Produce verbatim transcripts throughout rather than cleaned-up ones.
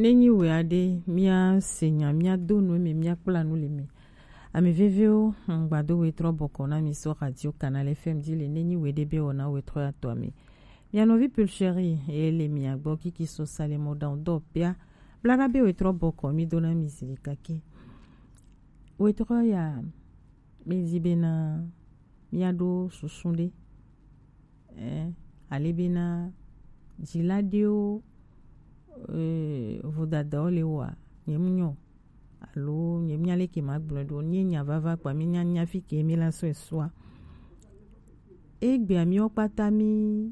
Ne nyi we aɖe, mía se nya, mía do nu eme, mía kpla nu le eme. Ame veviwo, ŋgbado wetrɔ bɔkɔ na mi so Radio Canal F M dzi le ne nyi we ɖe be wɔna wetrɔ ya tɔ ame. Mia nɔvi Pulcheri ye le mia gbɔ kiki so salemo dan dɔ pia. Blaga be wetrɔ bɔkɔ mi do na mi zi kake. Wetrɔ ya, mi zi bena mia ɖo susu ɖe. Eh, ale bena dzila ɖewo, eh, vodadawo le wɔa, nye mu nyɔ. Alo nye mu nya leke ma gblɔ ɖo, nye nya vava kpa mi nya nya fi ke mi la sɔ esua. Egbea miwo kpata mi,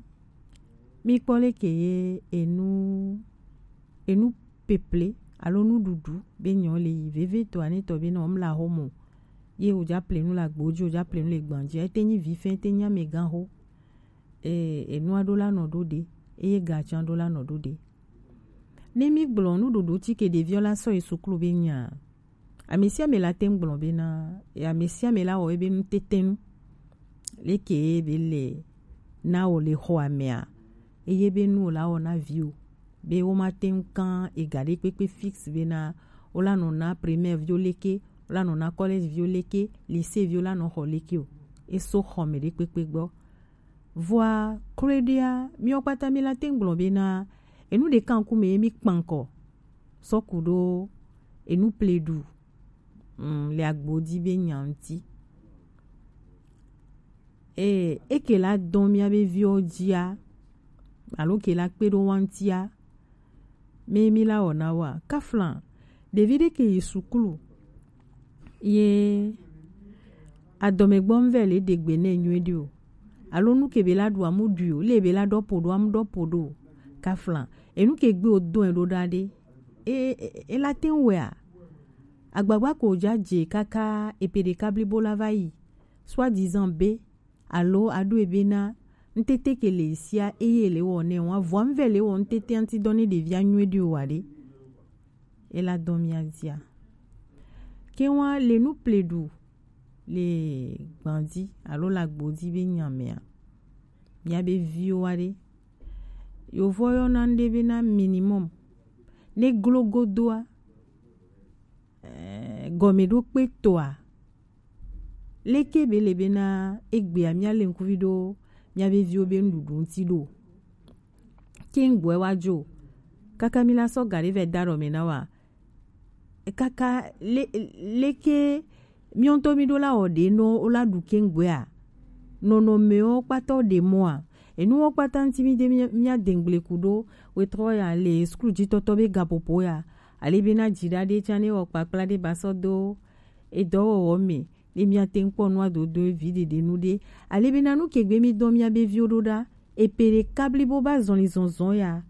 mi kpɔ leke ye enu, enu peple alo nuɖuɖu be nyɔ le yi. Veve to ane tɔ be na omla homo. Ye o ja ple nu la gbo ji, o ja ple nu le gban ji. Ete nyi vi fɛn, ete nyi amegã ho. E, enua ɖo la nɔ ɖo ɖe, eye gatsan ɖo la nɔ ɖo ɖe. Ne mi gblɔ nuɖuɖu ti ke ɖeviɔ la sɔ yi suklu be nya, ame sia ame la te ŋu gblɔ bena, e, ame sia ame la wɔ ebe nu tete nu. Leke ye be le na wɔ le xɔ amea, eye be nu wɔ la wɔ na vi o. Be wo ma te ŋu kan ega ɖe kpekpe fixe bena wo la nɔ na primaire viwo leke, wo la nɔ na collège viwo leke, lycée viwo la nɔ xɔ leke o. Eso xɔ me ɖe kpekpe gbɔ. Vɔa kloe ɖea, miwo kpata mi la te ŋu gblɔ bena enu ɖeka ŋkume ye mi kpankɔ sɔ ku ɖo enu pleɖu, mm, le agbo dzi be nya ŋuti. E, eke la dɔn mia be viwo dzia, alo ke la kpe ɖo wa ŋutia, me mi la wɔna wa. Kafla, ɖevi ɖe ke yi suklu, ye adɔmegbɔ ŋvɛ le ɖe gbe nɛ nyuie ɖi o. Alo nu ke be la ɖu amu ɖui o, le be la ɖɔ po ɖo amu ɖɔ po ɖo o. Kafla, enu ke gbe o dɔn e ɖo ɖa ɖe. E, e, e la te ŋu wɛa? Agbagba ko ja je kaka epe ɖeka blibo la va yi. Soi-disant be, alo aɖo ebe na ŋtete ke le sia eye le wɔ nɛ wa, vɔa ŋvɛ le wɔ ŋtete ŋti dɔ ne ɖevia nyuie ɖi o wa ɖe. E la dɔn mia dzia. Ke wa le nu pleɖu le gbandi alo le agbo dzi be nya mea, mia be viwo wa ɖe. Yovo yɔna ŋɖe bena minimum. Ne glo godoa, eh, gɔmeɖokpe toa, leke be le bena egbea mia le ŋkuvi ɖo mia be viwo be nuɖuɖu ŋti ɖo. Ke ŋgbɔe wa dzo. Kaka mi la sɔ ga ɖe vɛ da ɖɔ me na wa. Kaka le, leke miwo ŋutɔ mi ɖo la wɔ ɖe nɔ wo la ɖu keŋgbea, nɔnɔmewo kpata wo ɖe mɔa, enuwo kpata ŋuti mi de mia, mia de ŋgble ku ɖo wetrɔ ya le suklu dzi tɔtɔ be gaƒoƒo ya, ale be na dzi ɖa ɖe tsã ne wɔ kpakpla ɖe ba sɔ do edɔwɔwɔ me, ne mia te ŋu kpɔ nua dodo vi ɖeɖe nu ɖe, ale be na nu ke gbe mi dɔ mia be viwo ɖo ɖa, epe ɖeka blibo ba zɔli zɔzɔ ya,